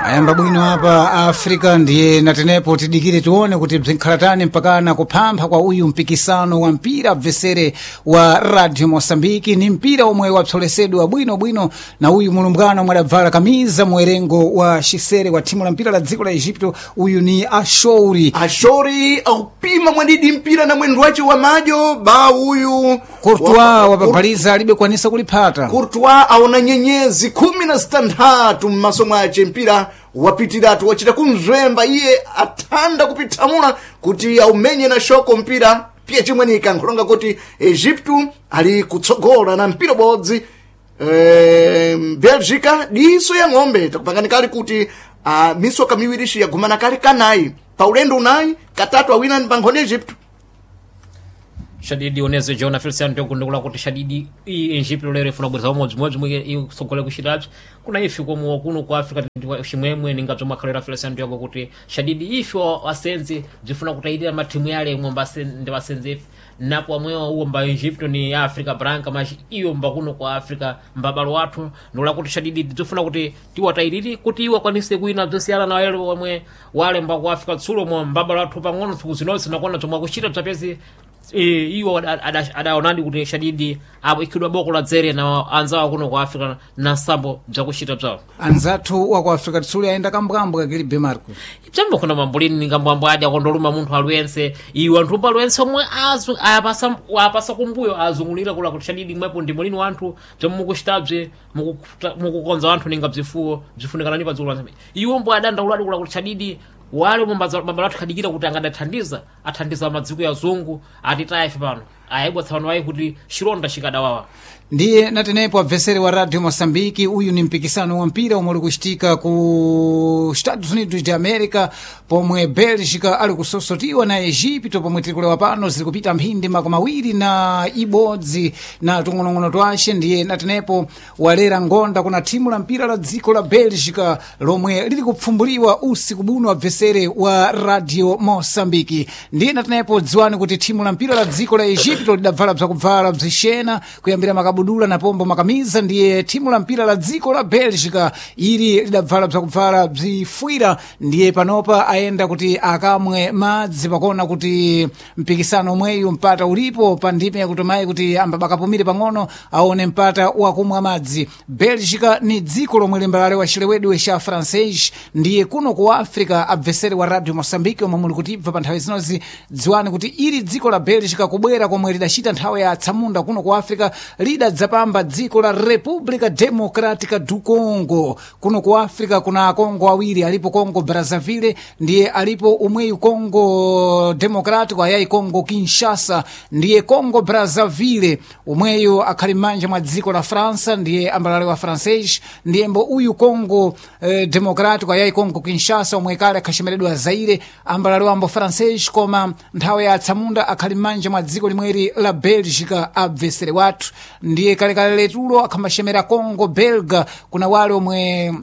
Ayamba bwino apa Africa, ndiye natenepo tidikire tione kuti bzinkhalatani mpakana kuphampha kwa uyu mpikisano wa mpira bvesere wa Radio Mosambiki. Ni mpira omwe wapsolesedwa bwinobwino na uyu mulumbwana omwe adabvala kamiza muwerengo wa xisere wa thimu la mpira la dziko la Egipto. Uyu ni Ashouri. Ashori aupima mwadidi mpira na mwendo wace wa majo ba uyu Courtois wapabhaliza alibe kwanisa kuliphata. Courtois aona nyenyezi 16 mmaso mwace, mpira wapitiratu, wachita kumzwemba iye athanda kupithamula kuti aumenye na shoko mpira piye chimwenika. Nkhulonga kuti Egipto ali kutsogola na mpira bodzi, Belgica diso ya ng'ombe. Takupangani kali kuti misoka miwirishi yagumana kali kanayi pa ulendo unayi katatu awina ni pankhoni Egipto. Shadidi oneze jona Feliciano tokundikula kuti shadidi i Egipto lero ifuna kubweza umodzimodzi mwe isogole kuchitapsi kuna ife komo kuno ku Africa chimwemwe ninga bzomwe akhalera Feliciano Tiago kuti shadidi ife asenzi bzifuna kutayirira mathimu yale ng'ombe ndi asenzi ife napo amwewa uwo mba Egipto ni Africa Branca mas iyo mba kuno ku Africa mbabalo wathu ndikula kuti shadidi bzifuna kuti tiwatayirire kuti iwo akwanise kuina bzosiyana na wale omwe wale mba ku Africa tsulo mwa mbabalo wathu pang'ono tsiku zinonse nakona zomwe akuchita bzapezi. Iwo adaonadi kuti shadidi apo ikhidwa boko la dzere na anzawo kuno ku Africa na sambo bzakuchita bzawo. Anzathu wa ku Africa tsuli ayenda kambwambwe kakilibe Marco. Bzambo kuna mambulini ningambwambwe adi akondoluma munthu aliyense iwo anthu pa aliyense omwe apasa apasa kumbuyo azungulira kula kuti shadidi mwepo ndi mulini wanthu bzomwe mukuchitabze mukukonza wanthu ninga bzifuwo bzifunikanani pa dziko lanse iwo mbo adandauladi kula kuti shadidi wale mabala athu khadikira kuti angadathandiza athandiza madziko ya zungu atitaya ife pano ayibwa tsapano ayi kuti chilonda chikadawawa. Ndiye natenepo abvesere wa Radio Mosambiki, uyu ni mpikisano wa mpira omwe uli kuchitika ku Estados Unidos de America pomwe Belgica ali kusosotiwa na Egipto. Pomwe tiri kulewa pano ziri kupita mphindi 21 na tung'onong'ono twace. Ndiye natenepo walera ngonda kuna thimu la mpira la dziko la Belgica lomwe lili kupfumbuliwa usiku buno, abvesere wa Radio Mosambiki. Ndiye natenepo dziwani kuti thimu la mpira la dziko la Egipto lidabvala bzakubvala bzixena kuyambira makabudula na pombo makamiza, ndiye thimu la mpira la dziko la Belgica ili lidabvala bzakubvala bzifwira. Ndiye panopa ayenda kuti akamwe madzi pakona kuti mpikisano omweyu mpata ulipo pa ndime yakutomayi kuti ambabakapumire pang'ono aone mpata wakumwa madzi. Belgica ni dziko lomwe limbalalewa chilewedwe cha Francais. Ndiye kuno ku Africa, abvesere wa Radio Mosambiki omwe muli kutibva pa nthawi zinozi, dziwani kuti ili dziko la Belgica kubwera komwe lidachita nthawi ya atsamunda kuno ku Africa lidadzapamba dziko la República Democrática do Congo. Kuno ku Africa kuna akongo awiri alipo, Congo Brazzaville ndiye alipo umweyu Congo Democrático ayayi Congo Kinshasa. Ndiye Congo Brazzaville umweyu akhali m'manja mwa dziko la França ndiye ambalale wa Francais, ndiye mbo uyu Congo Democrático ayayi Congo Kinshasa omwe kale akhachemeredwa Zaire ambalale wambo Francais, koma nthawi ya atsamunda akhali m'manja mwa dziko limweri la Belgica abvesere wathu. Ndiye kalekale letulo akhambachemera Congo Belga kuna wale omwe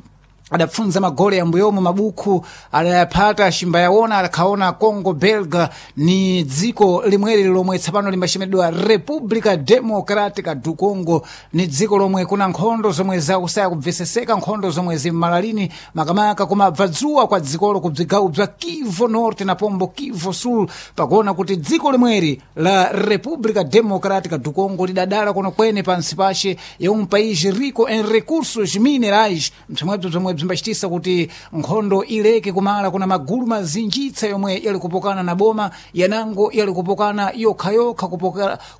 adapfunza magole yambuyomo mabukhu adayaphata ashimbayaona akhaona Congo Belga ni dziko limweri lomwe tsapano limbachemedwa República Democrática do Congo. Ni dziko lomwe kuna nkhondo zomwe zakusaya kubveseseka, nkhondo zomwe zimmalalini makamaka kumabva dzuwa kwa dzikolo ku bzigawo bza Kivu Norte na pombo Kivu Sul, pakuona kuti dziko limweri la República Democrática do Congo lidadala kuno kwene pansi pace ya um país rico em recursos minerais, mphimwebzo bzomwe bzimbachitisa kuti nkhondo ileke kumala. Kuna magulu mazinjitsa yomwe yali kupokana na boma yanango yali kupokana yokhayokha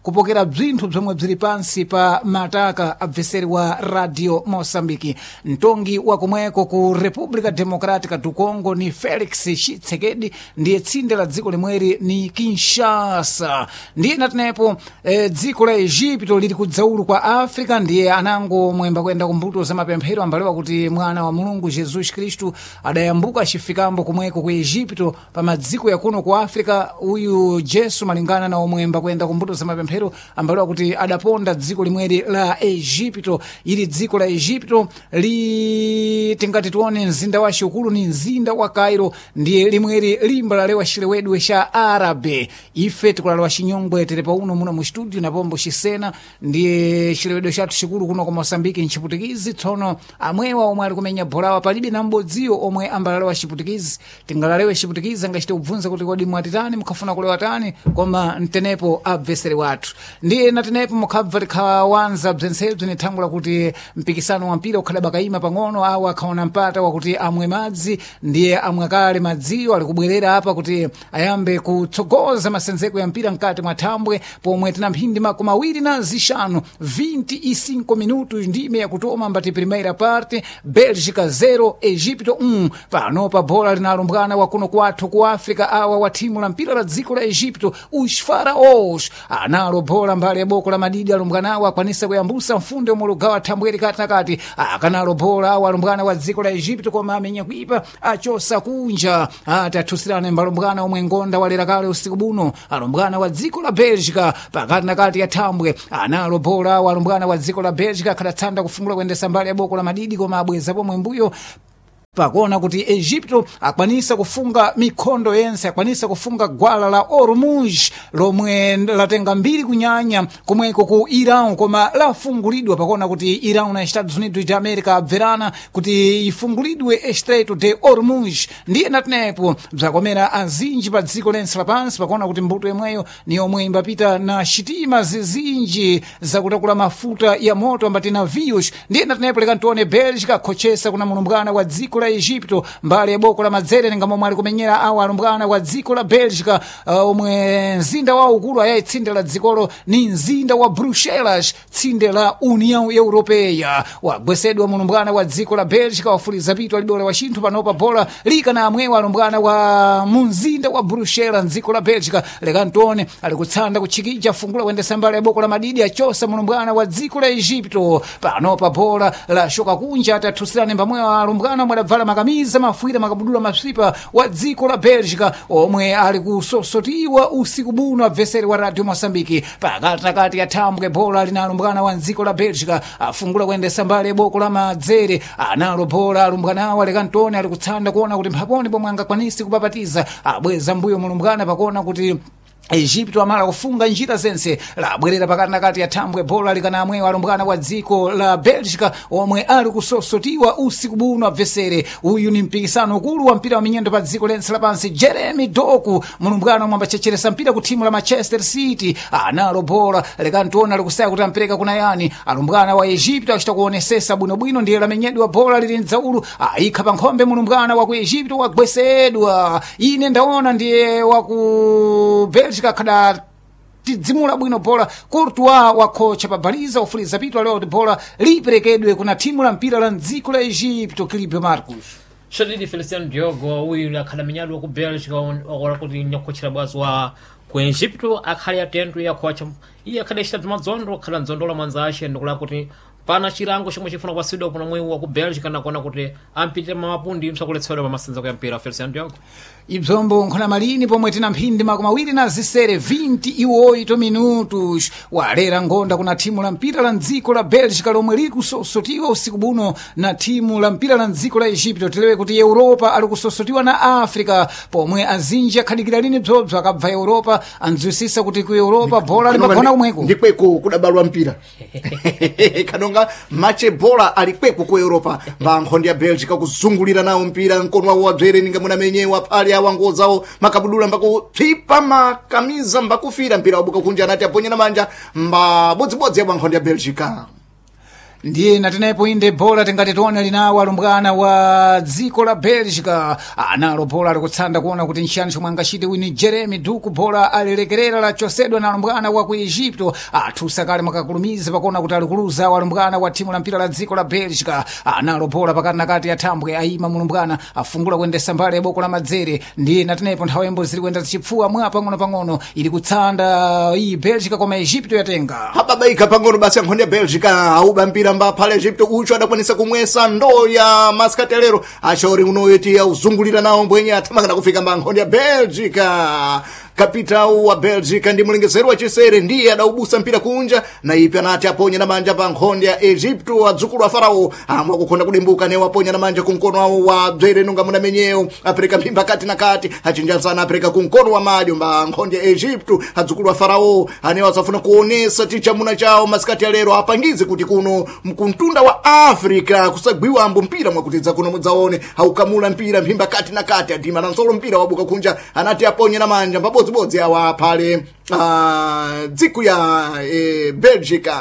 kupokera bzinthu bzomwe bzili pansi pa mataka, abveseri wa Radio Mosambiki. Mtongi wa kumweko ku República Democrática do Congo ni Felix Tshisekedi, ndiye tsinde la dziko limweri ni Kinshasa. Ndiye natenepo dziko la Egipto lili kudzaulu kwa Africa, ndiye anango mwemba kuyenda kumbuto za mapemphero ambalewa kuti mwana wa Mulungu Jesus Kristu adayambuka achifikambo kumweko ku Egipto pa madziko yakuno ku Africa. Uyu Jesu malingana na omwemba kuyenda kumbuto za mapemphero ambalewa kuti adaponda dziko limweri la Egipto. Ili dziko la Egipto li kuti tingati tione mzinda wa xukulu ni mzinda wa Cairo, ndiye limweri limba lalewa xilewedwe xa Árabe. Ife tikulalewa xinyongwe tili pauno muno mu studio na pombo xisena, ndiye xilewedwe xathu xikulu kuno ku Moçambique nchiputikizi. Tsono amwewa omwe ali kumenya bolawa palibe na m'bodziwo omwe ambalalewa xiputikizi. Tingalalewe xiputikizi angachite kubvunza kuti kodi mwatitani, mukhafuna kulewa tani, koma mtenepo abvesere wathu. Ndiye natenepo mukhabva tikhawanza bzentsebzo ni thangula kuti mpikisano wa mpira ukhala bakayima pang'ono, awo akhaona mpata wakuti amwe madzi, ndiye amwe kale madziwo alikubwerera apa kuti ayambe kutsogoza masenzeko ya mpira mkati mwa thambwe, pomwe tina mphindi 25, 25 minutos ndime yakutoma mbati primeira parte, Bélgica 0 Egipto 1. Panopa bola linalumbwana wa kuno kwathu ku Africa awa wa thimu la mpira la dziko la Egipto, os Faraós analo bola mbali ya boko la madidi. Alumbwanawo akwanisa kuyambusa mfunde omwe lugawa thambweri kati na kati, akanalo bola awa alumbwana wa dziko la Egipto, koma amenya kuipa achosa kunja. Ati athusirane mbalumbwana omwe ngonda walera kale usiku buno, alumbwana wa dziko la Bélgica pakati na kati ya thambwe analo bola awa alumbwana wa dziko la Bélgica akhadatsanda kufungula kuyendesa mbali ya boko la madidi, koma abweza pomwe mbuyo pakuona kuti Egipto akwanisa kufunga mikhondo yense, akwanisa kufunga gwala la Ormuz lomwe latenga mbiri kunyanya komweko ku Iran, koma lafungulidwa pakuona kuti Iran na Estados Unidos de America abverana kuti ifungulidwe Estreito de Ormuz. Ndiye natenepo bzakomera azinji pa dziko lense lapansi pakuona kuti mbuto yomweyo ni yomwe imbapita na xitima zizinji zakutakula mafuta ya moto ambati navios. Ndiye natenepo leka ntione Bélgica akhochesa kuna mulumbwana wa dziko la Egipto mbali ya boko la madzere ninga momwe ali kumenyera awa alumbwana wa dziko la Bélgica, omwe mzinda wawo ukulu ayayi tsinde la dzikolo ni mzinda wa Bruxelas, tsinde la União Europeia. Wagwesedwa mulumbwana wa dziko la Bélgica wafuliza pitu alibe wa chinthu. Panopa bola lika na amwewa alumbwana wa munzinda wa Bruxelas mdziko la Bélgica. Leka ntione alikutsanda kutchikija fungula kuyendesa mbali ya boko la madidi achosa mulumbwana wa dziko la Egipto. Panopa bola la shoka kunja atathusirane mbamwewa alumbwana omwe adabvala makamiza mafuira makabudula masipa wa dziko la Bélgica omwe ali kusosotiwa usiku buno abveseri wa Radio Moçambique. Pakati nakati ya thambwe bola lina alumbwana wa dziko la Bélgica afungula kuyendesa mbali ya boko la madzere analo bola alumbwanawo aleka ntone ali kutsanda kuona kuti mphaponi pomwe angakwanisi kupapatiza abweza mbuyo mulumbwana pakuona kuti Egipto amala kufunga njira zense labwerera pakati nakati ya thambwe bola likana amwewo alumbwana wa dziko la Bélgica omwe ali kusosotiwa usiku buno abvesere. Uyu ni mpikisano ukulu wa mpira wa minyendo pa dziko lense lapansi. Jeremy Doku mulumbwana omwe ambachecheresa mpira ku thimu la Manchester City analo bola lekantiona likusaya kuti ampereka kuna yani. Alumbwana wa Egipto achita kuonesesa bwinobwino, ndiye lamenyedwa bola lili mdzaulu ayikha pa nkhombe mulumbwana wa ku Egipto wagwesedwa. Ine ndaona ndiye wa ku Bélgica kada tidzimula bwino bola. Courtois wakhocha pabaliza ufuliza pitu alewa kuti bola liperekedwe kuna thimu la mpira la mdziko la Egipto. Clipio Marcos Shadidi Feliciano Diogo uyu akhala menyado ku Bélgica wakola kuti nyakhochera bwazi wa ku Egipto akhale atento yakhocha iye akhale achita madzondo akhala ndzondola mwanza ace ndikula kuti pana chilango chomwe chifuna kupasidwa kuna mwewu wa ku Bélgica nakuona kuti ampitire mamapundi msakuletsedwa pamasenza ya mpira Feliciano Diogo. Ibzombo nkhona malini pomwe tina mphindi 28 28 minutos walera ngonda kuna thimu la mpira la mdziko la Bélgica lomwe likusosotiwa usiku buno na thimu la mpira la mdziko la Egipto. Tilewe kuti Europa ali kusosotiwa na Africa pomwe azinji akhadikira lini bzobzo akabva Europa andzwisisa kuti ku Europa bola limagona kumweko ndikweko kudabalwa mpira kanonga mache bola ali kweko ku Europa mbankhondi ya Bélgica kuzungulira nawo mpira mkono wawo wabzere ninga munamenyewa phali awa ngozawo makabudula mbakuphipa makamiza mbakufira mpira wabuka kunja anati aponyera manja mbabodzibodzi ya nkhondi ya Bélgica. Ndiye natenepo inde bola tingati tione linawo alumbwana wa dziko la Bélgica analo bola alikutsanda kuona kuti nchiyani chomwe angachite wini Jeremy Duku bola alilekerera lachosedwa na alumbwana wa ku Egipto athusa kale makakulumiza pakuona kuti alikuluza alumbwana wa thimu la mpira la dziko la Bélgica analo bola pakati nakati ya thambwe ayima mulumbwana afungula kuyendesa mbali ya boko la madzere. Ndiye natenepo nthawi yombo zili kuyenda zichipfuwa mwa pang'ono-pang'ono ili kutsanda iyi Bélgica koma Egipto yatenga hababaika pang'ono basi ankhondi ya Bélgica auba mpira mbaphale Egipto ucho adakwanisa kumwesa ndoo ya maskatelero achaori unoyo tiya uzungulira nawo mbwenye athamakana kufika mba nkhondi ya Bélgica. Kapitau wa Belgica ndi mlengesero wa chisere ndiye adaubusa mpira kunja na ipi anati aponye na manja pa nkhonde ya Egypto adzukulu a Farao amwe akukhonda kudimbuka newo aponya na manja kumkono wawo wa dzere nunga munamenyewo apereka mphimba kati na kati achinjazana apereka kumkono wa madyo mba nkhonde ya Egypto adzukulu a Farao anewo asafuna kuonesa tichamuna chawo masikati alero apangize kuti kuno mkuntunda wa Africa kusagwiwa ambo mpira mwakutidza kuno mudzaone aukamula mpira mphimba kati na kati adima na nsolo mpira wabuka kunja anati aponye na manja mbabodzibodzi awa phale dziku ya Belgica.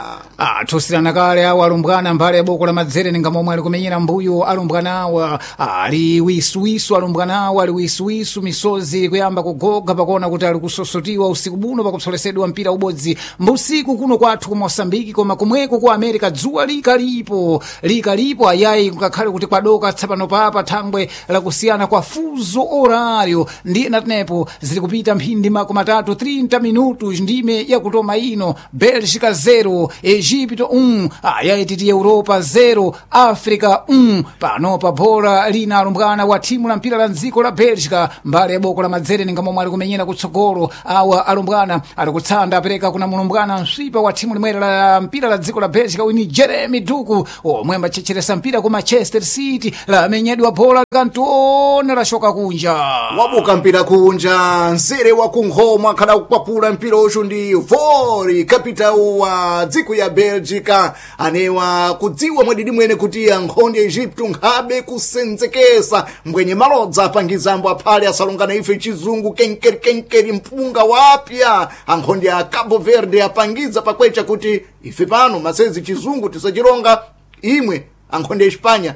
Tusirana kale awo alumbwana mbale ya boko la madzere ninga momwe ali kumenyera mbuyo alumbwana awa ali wisuwisu alumbwana awa ali wisuwisu misozi kuyamba kugoga pakuona kuti ali kusosotiwa usiku buno pakupsolesedwa mpira ubodzi mbusiku kuno kwathu ku Mosambiki koma kumweko ku America dzuwa likalipo likalipo ayayi ngakhale kuti kwadoka tsapano papa thangwe lakusiyana kwa fuzo horario ndiye natenepo zili kupita mphindi makumi atatu 30 minutos ndime yakutoma ino Bélgica 0 Egipto 1 ayayi titi Europa 0 Africa 1 panopa bhola lina alumbwana wa thimu la mpira la mdziko la Bélgica mbale ya boko la madzere ninga momwe ali kumenyera kutsogolo awa alumbwana ali kutsanda apereka kuna mulumbwana mswipa wa thimu limwere la mpira la dziko la Bélgica uyu ni Jeremy Duku omwe ambachecheresa mpira ku Manchester City lamenyedwa bhola kantione lashoka kunja wabuka mpira kunja nsere wa kunkhoma akhala kukwapula mpira uchu ndi Vori kapitau wa dziko ya Belgica anewa kudziwa mwadidi mwene kuti ankhonde ya Egypto nkhabe kusenzekesa mbwenye malodza apangizambo aphale asalongana ife chizungu kenkeri kenkeri mpunga wapya ankhonde ya Cabo Verde apangiza pakwecha kuti ife pano masezi chizungu tisachironga imwe ankhonde ya Espanya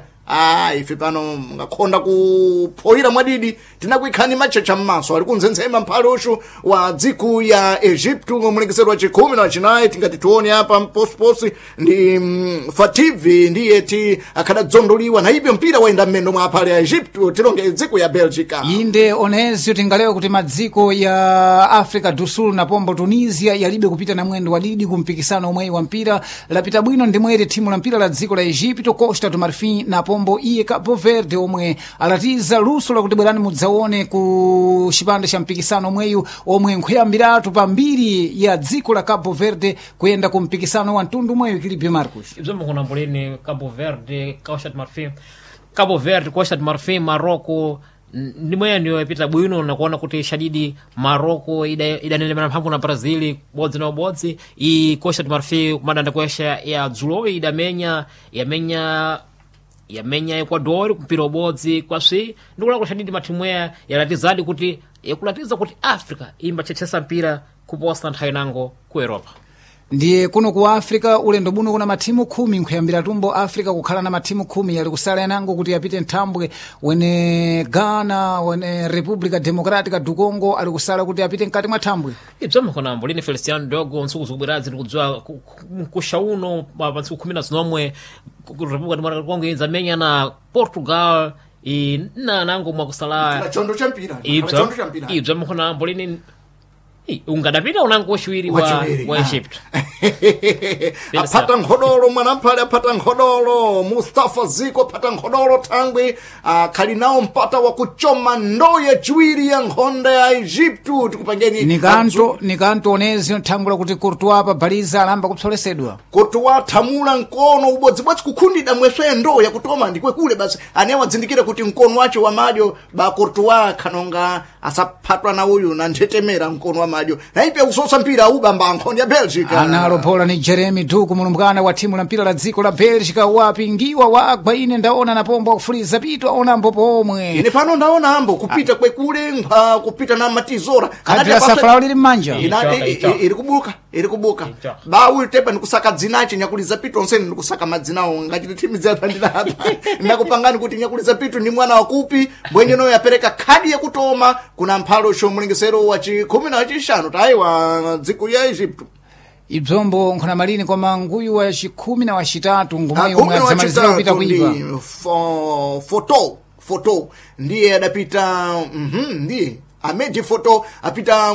ife pano ngakhonda kuphoyira mwadidi tinakuikhani machecha mmaso ali kunzenzema mphale uchu wa dziku ya Egypto mulengesero wa chikhumi na wachinayi tingati tione apa mposiposi ndi Fativi ndiye ti akhadadzondoliwa na ibyo mpira wayenda mmendo mwa aphale ya Egypto tilonge dziku ya Belgica inde onezio tingalewa kuti madziko ya Africa do Sul na pombo Tunisia yalibe kupita na mwendo wadidi ku mpikisano omweyi wa mpira lapita bwino ndimwere thimu la mpira la dziko la Egypto Costa do Marfim na pombo iye Cabo Verde omwe alatiza luso lakuti bwerani mudzaone ku chipande cha mpikisano omweyu omwe nkhuyambiratu pambiri ya dziko la Cabo Verde kuyenda ku mpikisano wa mtundu omweyu Kilipe Marcos ibzo mukunambuleni Cabo Verde Costa do Marfim Cabo Verde Costa do Marfim Marocco ndimweyo yapita bwino nakuona kuti shadidi Marocco idanelemera mphamvu na Brazil bodzi na ubodzi i Costa do Marfim kumadanda kwesha ya dzuloyi idamenya yamenya yamenya Ecuador kumpira ubodzi kwaswi ndikulakula shadidi mathimu aya yalatizadi kuti yakulatiza kuti Africa imbachechesa mpira kuposa nthawi nango ku Europa ndiye kuno ku Africa ulendo buno kuna mathimu khumi nkhuyambira tumbo Africa kukhala na mathimu khumi yali kusala yanango kuti yapite nthambwe wene Ghana wene Republica Democratica du Congo ali kusala kuti apite mkati mwa thambwe ibzo mkonambo lini Feliciano Dogo ntsiku zikubwerazi ndikudziwa mkusha uno pa ntsiku khumi na zinomwe Republica Democratica du Congo idzamenya na Portugal na nango mwakusala chondo cha mpira chondo cha mpira ibzo mkonambo lini ungadapita unango wachiwiri wa Egypt aphata nkhodolo mwanamphale aphata nkhodolo Mustafa Ziko aphata nkhodolo thangwi akhali nawo mpata wakuchoma ndo yachiwiri ya nkhonda ya Egypto tikupangeni nikanto onezio nthangula kuti Courtois pa baliza alamba kupsolesedwa Courtois thamula mkono ubodzibodzi kukhundida mweswe ndo yakutoma ndikwekule basi anewo adzindikire kuti mkono wacho wa madyo ba Courtois khanonga asaphatwa na uyu na nthetemera mkono wa madyo naipe kusosa mpira ubamba nkhonde ya Belgica analo bola ni Jeremy Duku mulumbwana wa timu la mpira la dziko la Belgica wapingiwa wagwa ine ndaona na pombo akufuliza pito aona ambo pomwe ine pano ndaona ambo kupita kwekule kupita na matizora khadi la safalawo lili mmanja iri kubuka iri kubuka ba uyu tepa ndikusaka dzinache nyakuliza pito onsene ndikusaka madzinawo ngachiti timu dzapa ndinapa ndakupangani kuti nyakuliza pito ndi mwana wakupi mbwenye yapereka khadi yakutoma kuna mphalo chomulengesero wa chikhumi na wachishanu tayiwa dziko ya Egypto ibzombo nkhona malini koma nguyu wa chikhumi na wachitatu ngumweyo omwe adzamalizira kupita kuipa foto foto ndiye adapita ndiye Amedi Foto apita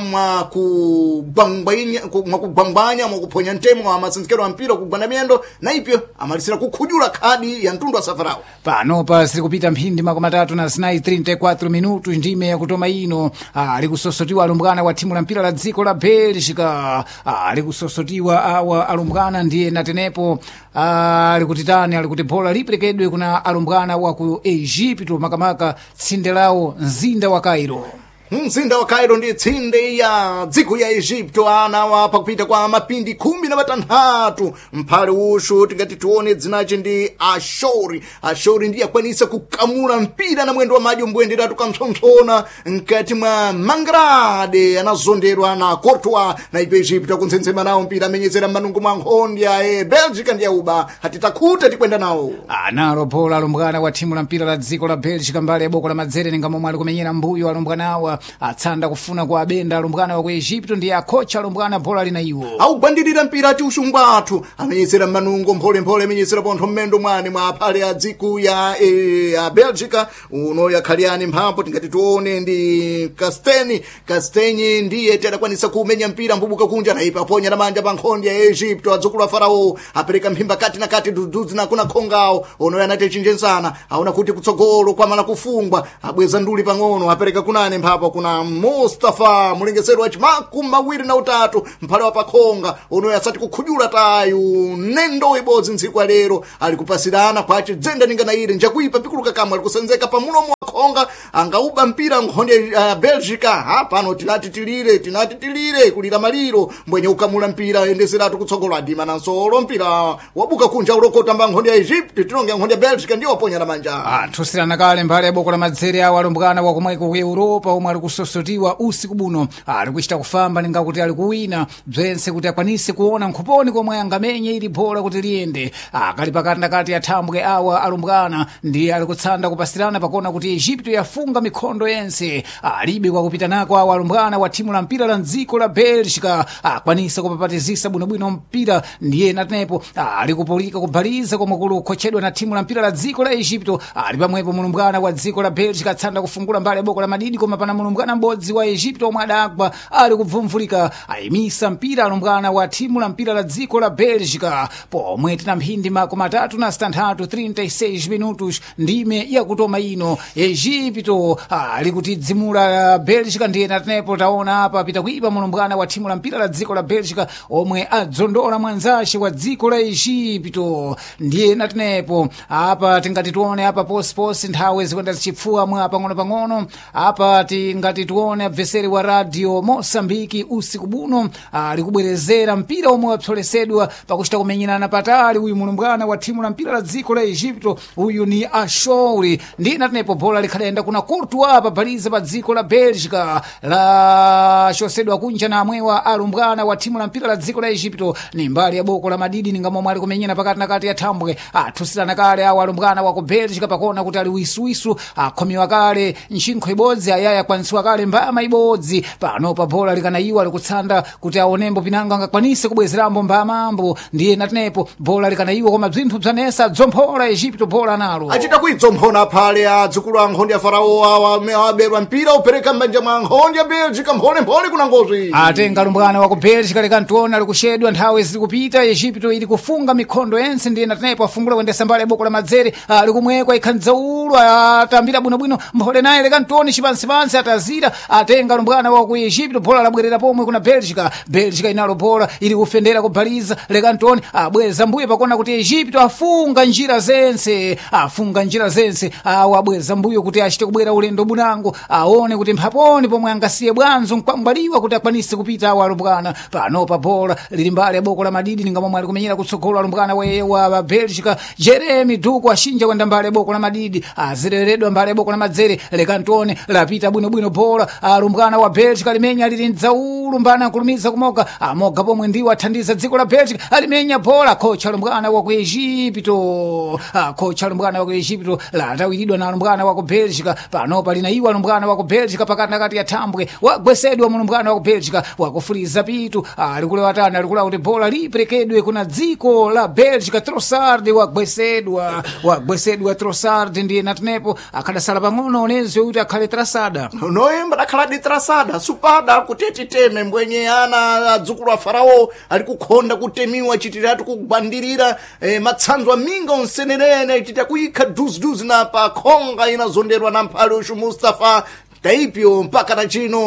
mwakugwangwanya mwakuphonya ntemo wa masensekero a mpira kugwanda miyendo na ipyo amalisira kukhujula khadi ya mtundu wa safarawo. Panopa ziri mphindi 34 34 minutos ndime yakutoma ino. Ali kusosotiwa alumbwana wa thimu la mpira la dziko la Bélgica. Ali kusosotiwa awa alumbwana ndiye natenepo ali kutitani ali kuti bola liperekedwe kuna alumbwana wa ku Egipto, makamaka tsinde lawo mzinda wa Cairo. Mzinda wa Cairo ndi tsinde ya dziko ya Egipto. Ana wa pakupita kwa mapindi 16 mphale ushu tingati tione dzinace ndi Ashori. Ashori ndiye akwanisa kukamula mpira na mwendo wa madyo mbwenderatu kampsompsona mkati mwa mangrade anazonderwa na Courtois na ipo Egipto akuntsensema nawo mpira amenyezera m'manungu mwa nkhondya e Belgica ndi yauba hatitakhuta tikwenda nawo. Analo bola alumbwana wa thimu la mpira la dziko la Belgica mbali ya boko la madzere ninga momwe ali kumenyera mbuyo alumbwana awa atsanda kufuna kwa abenda alumbwana wa ku Egipto ndiye akhocha alumbwana bola lina iwo Augwandirira mpira ati uxungu athu amenyezera m'manungo mpholemphole amenyezera pontho mmendo mwane mwa aphale a dziku ya Belgica uno yakhaliyani mphambo tingati tione ndi Casteni. Castenyi ndiye tadakwanisa kumenya mpira mbubuka kunja na ipa aponya na manja pa nkhondi ya Egipto adzukulu a Farao apereka mphimba kati na kati dudzudzi na kuna khongawo ono anati chinjensana aona kuti kutsogolo kwamala kufungwa abweza nduli pang'ono apereka kunane mphapo kuna Mustafa mulengeseri wa chimakumi mawiri na utatu mphale wa pakhonga unoyo asati kukhujula tayu nendo ibodzi ntsiku ya lero ali kupasirana kwace dzenda ningana ire njakuipa pikuluka kamwe ali kusenzeka pamulomo wa khonga angauba mpira nkhonde Belgica hapano tinati tilire tinati tilire kulira maliro mbwenye ukamula mpira endeseratu kutsogolo adima na nsolo mpira wabuka kunja ulokota mba nkhonde ya Egypt tinonge nkhonde ya Belgica ndiyo waponya na manja. Athusirana kale mbali ya boko la madzere awo alumbwana wa komweko ku Europa omwe ali kusosotiwa usiku buno ali kuchita kufamba ninga kuti ali kuwina bzense kuti akwanise kuona nkhuponi komwe angamenye ili bola kuti liyende. Akali pakati nakati athambwe awa alumbwana ndiye ali kutsanda kupasirana pakona kuti Egipto yafunga mikhondo yense alibe kwakupita nako awa alumbwana wa thimu la mpira la mdziko la Belgica akwanisa kupapatizisa bwinobwino mpira ndiye natenepo ali kupulika kubhaliza komwe kuli kukhotchedwa na thimu la mpira la dziko la Egipto. Ali pamwepo mulumbwana wa dziko la Belgica atsanda kufungula mbali ya boko la madidi koma pana mulumbwana m'bodzi wa Egipto omwe adagwa ali kubvumvulika ayimisa mpira alumbwana wa thimu la mpira la dziko la Belgica pomwe tina mphindi 36 36 minutos ndime yakutoma ino. Egipto ali kutidzimula Belgica ndiye natenepo taona apa pita kuipa mulumbwana wa thimu la mpira la dziko la Belgica omwe adzondola mwanzace wa dziko la Egipto ndiye natenepo apa tingati tione apa posiposi nthawi zikwenda zichipfuwa mwa pang'ono-pang'ono apa tingati tione abveseri wa radio Mosambiki usiku buno ali kubwerezera mpira omwe wapsolesedwa pakuchita kumenyerana patali uyu mulumbwana wa thimu la mpira la dziko la Egipto uyu ni Ashouri ndiye natenepo bola likhalenda kuna Courtois pabhaliza pa dziko la Belgica lachosedwa kunja na amwewa alumbwana wa thimu la mpira la dziko la Egipto ni mbali ya boko la madidi ninga momwe ali kumenyera pakati na kati ya thambwe athusirana kale awo alumbwana wa ku Belgica pakona kuti ali wisuwisu akhomiwa kale ntchinkho ibodzi ayaya akwanisiwa kale mbama ibodzi pano pa bola likanayiwa likutsanda kuti aonembo pinango angakwanise kubwezerambo mbamambo ndiye natenepo bola likanayiwa koma bzinthu bzanesa dzomphola Egipto bola nalo Achita kuidzomphona aphale adzukulu a nkhondi ya Farao awa aberwa mpira upereka m'manja mwa nkhondi ya Belgica mpholemphole kuna ngozi. Atenga lumbwana wa ku Belgica likantiona likuxedwa nthawi zikupita Egipto ili kufunga mikhondo yense ndiye natenepo afungula kuyendesa mbali ya boko la madzere likumwekwa ikhandzaulu atambira bwinobwino mphole naye likantioni cipansipansi atazira atenga lumbwana wa ku Egipto bola labwerera pomwe kuna Belgica. Belgica inalo bola ili kufendera kubhaliza likantioni abweza mbuye pakona kuti Egipto afunga njira zense afunga njira zense awo abweza mbuyo kuti achite kubwera ulendo bunango aone kuti mphaponi pomwe angasiye bwanzo nkwangwaliwa kuti akwanise kupita awo alumbwana panopa bola lili mbali ya boko la madidi ninga momwe ali kumenyera kutsogolo alumbwana wa Belgica Jeremy Duku ashinja kwenda mbali ya boko la madidi azireredwa mbali ya boko la madzere lekantone lapita bwinobwino bola alumbwana wa Belgica limenya lili mdzaulu mbana akulumiza kumoga amoga pomwe ndiwo athandiza dziko la Belgica alimenya bola kocha alumbwana wa ku Egipto kocha alumbwana wa ku Egipto latawiridwa na alumbwana wa ku Belgica. Panopa lina iwo alumbwana wa ku Belgica pakati nakati ya thambwe, wagwesedwa mulumbwana wa ku Belgica, wakufuliza pitu alikulewatani, alikula kuti bola liperekedwe kuna dziko la Belgica. Trossard wagwesedwa, wagwesedwa Trossard, ndiye natenepo akhadasala pang'ono onezwe kuti akhale trasada. Noyemba dakhala trasada supada kuti titeme mbwenye ana adzukulu a Farao ali kukhonda kutemiwa chitiratu kugwandirira matsanzo aminga onsenerene chita kuyikha duziduzi na pa khonga inazonderwa na mphale uxu Mustafa taipyo mpaka na chino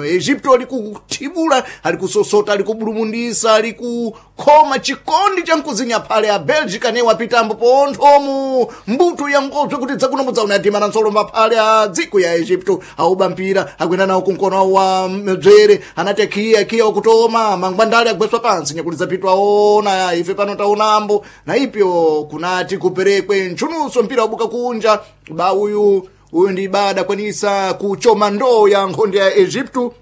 Egipto ali kuthibula, ali kusosota, ali kubulumundisa, ali kukhoma chikondi cha mkuzinya phale a Belgica ne wapitambo ponthomu mbuto ya ngobzo kuti dzakuno mudzaona na nsolomba phale a dziko ya Egipto auba mpira akwenda nawo kunkono wa mdzere anati akhiya akhiya wakutoma mangwandale agweswa pansi nyakuliza pitu aona ife pano taonambo na ipyo kunati kuperekwe ntchunuso mpira wabuka kunja ba uyu uyu ndi ibada kwanisa kuchoma ndoo ya nkhonde ya Egipto.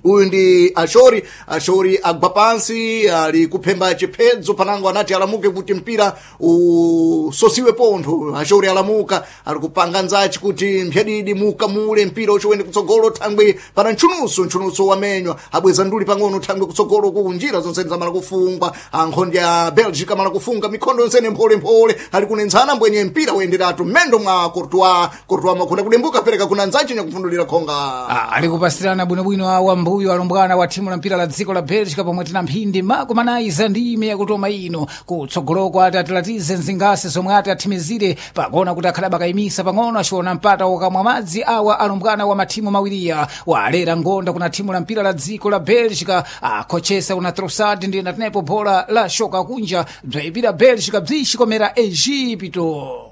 Uyu ndi Ashori, Ashori agwa pansi ali kuphemba chiphedzo panango anati alamuke kuti mpira usosiwe pontho. Ashori alamuka ali kupanga nzachi kuti mphyadidi mukamule mpira uchiwene kutsogolo thangwe pana ntchunuso, ntchunuso wamenywa abweza nduli pang'ono thangwe kutsogolo ku njira zonsene zamala kufungwa ankhonde ya Belgica amala kufunga mikhondo yonsene mpholemphole ali kunenzana mbwenye mpira woyenderatu mmendo mwa Courtois. Courtois makhunda kudembuka pereka kuna nzachi nyakufundulira khonga. Ali kupasirana bwinobwino awa mbuyo alumbwana wa thimu la mpira la dziko la Belgica pomwe tina mphindi makumi za ndime yakutoma ino kutsogoloko ati atilatize mzingasi zomwe ati athimizire pakuona kuti akhala bakayimisa pang'ono achiona mpata wokamwa madzi awa alumbwana wa mathimu mawiriya walera ngonda kuna thimu la mpira la dziko la Belgica akhochesa kuna Trossard ndiye natenepo bola la shoka kunja bzayipira Belgica bzixikomera Egipto.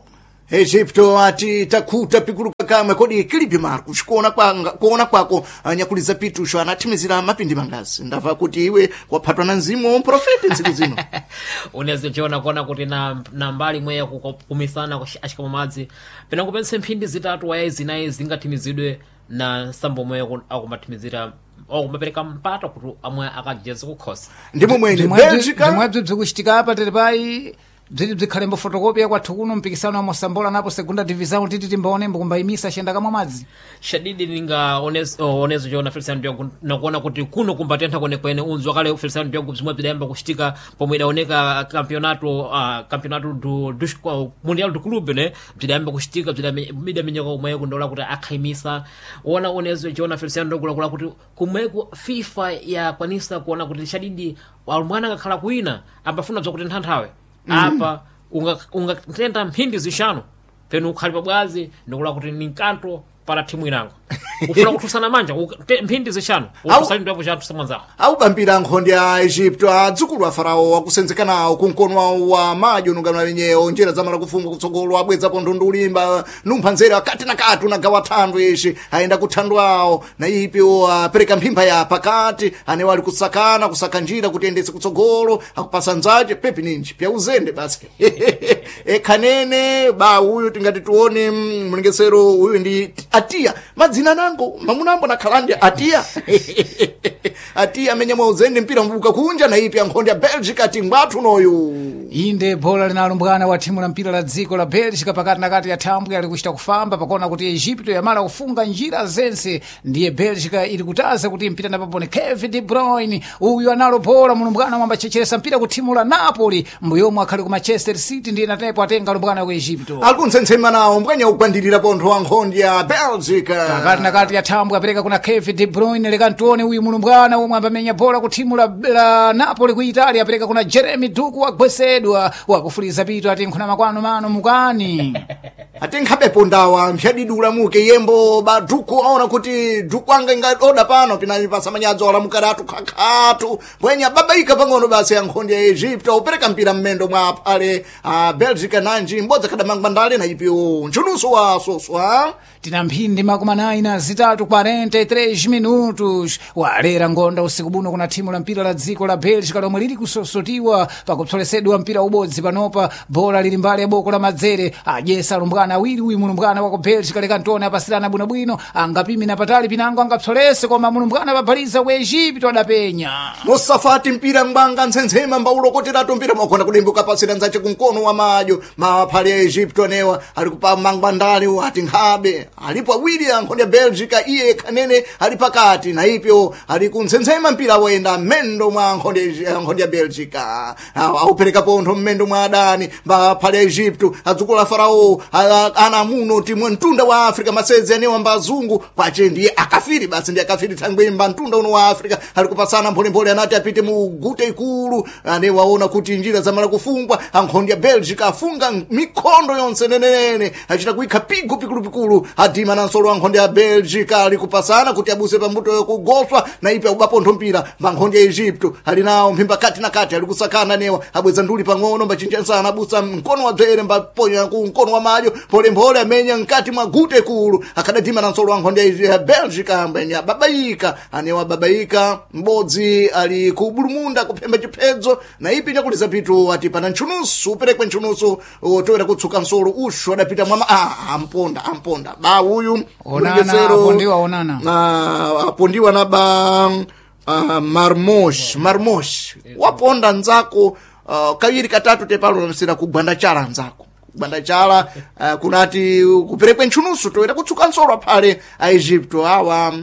Egipto ati takhuta pikuluka kamwe kodi kilipi Marcos kuona kwanga kuona kwako nyakuliza pitusho anathimizira mapindi mangazi ndamva kuti iwe waphatwa na mzimu wa mprofeti ntsiku zino. Unezichiona kuona kuti na mbali imwe yakukumisana axikamo madzi penango pense mphindi zitatu wayayi zinayi zingathimizidwe na nsambo omwe akumathimizira akumapereka mpata kuti amwe akajeze kukhosa. Ndimo mwene Belgica Bzimwebzo bzikuchitika apa tili payi bziti bzikhalembo fotokopi yakwathu kuno mpikisano wa Mosambola napo segunda divisão titi timbaonembo kumbayimisa axiyenda kamwa madzi. Shadidi ninga onezo chona Feliciano Diogo nakuona kuti kuno kumbatentha kwenekwene unzi wakale Feliciano Diogo bzimwe bzidayamba kuchitika pomwe idaoneka campeonato campeonato do mundial do clube ne bzidayamba kuchitika bzidamenyeka kumweko ndola kuti akhayimisa ona onezo chona Feliciano Diogo lakula kuti kumweko FIFA yakwanisa kuona kuti shadidi mwana akakhala kuina ambafuna bzakuti nthawi apa ungatenda mphindi zixanu penu ukhali pabwazi ndikula kuti ni nkanto para thimu inango ufuna kuthusana manja mphindi zixanu uthusali ndwepo cha mwanzako. Aubambira nkhonde ya Egipto adzukulu a Farao akusenzeka nawo kunkono wawo wa madyo nungano wenyewo njira zamala kufunga kutsogolo abwezapo ndundu ulimba numpha nzere akati na kati unagawa thandwe ishi ayenda kuthandwa awo na ipi apereka mphimba ya pakati anewo ali kusakana kusaka njira kuti endese kutsogolo akupasa nzache pepi ninji pya uzende basi ekhanene ba uyu tingati tione mlengesero uyu ndi Atiya madzina nango mamunambo nakhalandi Atiya Atiya amenya mwauzende mpira mbuka kunja na ipi ankhonde ya Belgica ati ngwathu noyu. Inde bola linalumbwana wa thimu la mpira la dziko la Belgica pakati nakati ya thambwe ali kuchita kufamba pakuona kuti Egipto yamala kufunga njira zense ndiye Belgica ili kutaza kuti mpira napapone Kevin De Bruyne uyu analo bola mulumbwana mwamba checheresa mpira ku thimu la Napoli mbuyomwe akhali ku Manchester City ndiye natepo atenga lumbwana ku Egipto Akunsensema nawo mbwenya kugwandirira pontho wa nkhonde ya Belgica pakati nakati ya thambwe apereka kuna Kevin De Bruyne leka ntione uyu mulumbwana omwe ambamenya bola ku thimu la Napoli ku Italia apereka kuna Jeremy Doku wagwesedwa wakufuliza pito ati nkhuna makwano mano mukani. Ati nkhabepo ndawa mphyadidi ulamuke yembo baduku aona kuti duku anga ingaoda pano pinali pasamanyadzo alamukadatu khakhatu mbwenya babaika pang'ono basi ya nkhonde ya Egipto upereka mpira mmendo mwa phale a Belgica nanji mbodza khadamangwandale na ipiwo ntchunuso wa soswa. Tina mphindi makumi anayi na zitatu 43 minutos walera ngonda usiku buno kuna thimu la mpira la dziko la Belgica lomwe lili kusosotiwa pakupsolesedwa mpira ubodzi panopa bola lili mbali ya boko la madzere adyesa alumbwana. Alumbwana awiri, uyu mulumbwana wa ku Belgica lekantone apasirana bwinobwino, angapime na patali pinango angapsolese, koma mulumbwana papaliza ku Egipto adapenya. Mosafati mpira ngwanga ntsensema mbaulokoteratu mpira mwakhona kudimbuka pasira nzace kumkono wa madyo maphali ya Egipto anewa ali kupa mangwandale ati nkhabe alipo awiri ankhonde ya Belgica iye khanene ali pakati na ipyo ali kuntsensema mpira woyenda mmendo mwa ankhonde ya Belgica aupereka pontho mmendo mwa adani maphali ya Egipto adzukulu a Farao ana muno timwe mtunda wa Africa masedzi anewa mbazungu kwace ndiye akafiri basi ndiye akafiri thangwemba mtunda uno wa Africa ali kupasana mpholemphole anati apite mu gute ikulu ane waona kuti njira zamala kufungwa ankhondi ya Belgica afunga mikhondo yonse nenenene achita kuikha pigo pikulupikulu adima na nsolo ankhondi ya Belgica ali kupasana kuti abuse pambuto yokugoswa na ipe akubapontho mpira mankhondi ya Egypto ali nawo mphimba kati na kati ali kusakana newa abweza nduli pang'ono mbachinjansana abusa mkono wa dzere mbaponya ku mkono wa madyo mpholemphole amenya mkati mwa gute ikulu akadadima na nsolo ankhondi ya Belgica ambenya babaika anewa babaika m'bodzi ali ku bulumunda kuphemba chiphedzo na ipi nyakuliza pitu ati pana ntchunusu uperekwe ntchunusu otowera kutsuka nsolo ushu adapita mwama amponda amponda ba uyu Onana, mlengesero, apondiwa onana. Apondiwa na ba marmosh marmosh waponda nzako kawiri katatu tepalo namsira kugwanda chala nzako kugwanda chala kunati kuperekwe ntchunusu toera kutsuka nsolo aphale a Egipto awa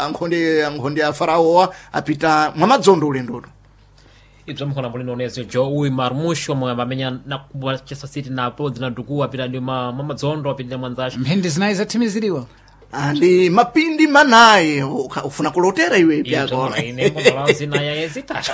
ankhonde a faraowa apita mwamadzondo ulendono. Ibzo mkhona mulino onezo jo uyu Marmush omwe amamenya na ku Manchester City na podzi na Duku apita ndi mamadzondo apita mwanzace. Mphindi zinayi zathimiziriwa. Ndi mapindi manayi ufuna kulotera iwe pyako. Ine mbondola zitatu.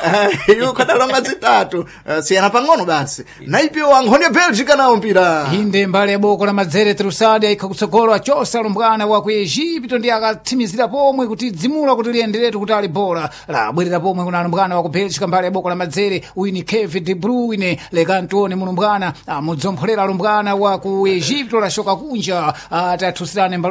Iwe ukadalonga zitatu. Siyana pang'ono basi naipyo ankhonde ya Belgica nawo mpira. Inde mbali ya boko la madzere Trusadi aikha kutsogolo achosa alumbwana wa ku Egipto ndi akatsimizira pomwe kuti dzimula kuti liyenderetu kuti ali bola labwerera pomwe kuna alumbwana wa ku Belgica mbali ya boko la madzere uyu ni Kevin De Bruyne lekantione mulumbwana amudzompholera alumbwana wa ku Egipto lashoka kunja atathusirane mbalo.